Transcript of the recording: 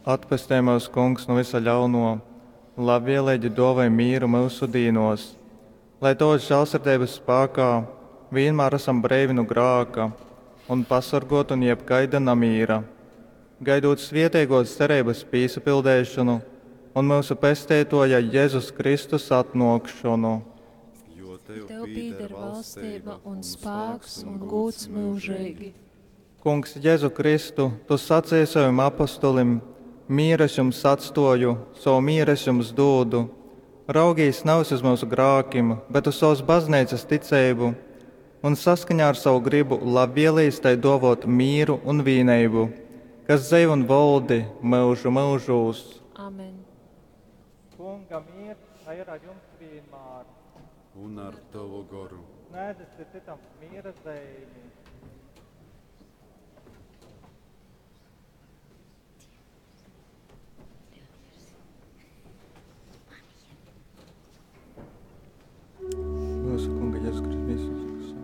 Atpestej myus, Kungs, nu vysa ļaunuo, labvieleigi duovoj mīru myusu dīnuos, lai tovas žālsirdeibas spākā vīnmār asam breivi nu grāka un pasorguoti nu jebkaida namīra, gaidūt svieteiguos cereibys pīsapildeišonu un myusu Pesteituoja Jezus Kristus atnuokšonu. Jo tev Tev pīder pīder valstība valstība un spāks un gūds myužeigi. Kungs Jezu Kristu, tu saceji sovim apostolim, Mīru es jums atstuoju, sovu mīru es jums dūdu. Raugīs navis uz myusu grākim, bet uz sovas bazneicas ticeibu, un saskaņā ar savu gribu labvielīs tai duovuot mīru un vīneibu, kas dzeiv un voldi myužu myužūs. Amen. Kunga miers, lai ir ar jums vienmēr. Un ar tavu goru. Sniedzat citam miera zīmi.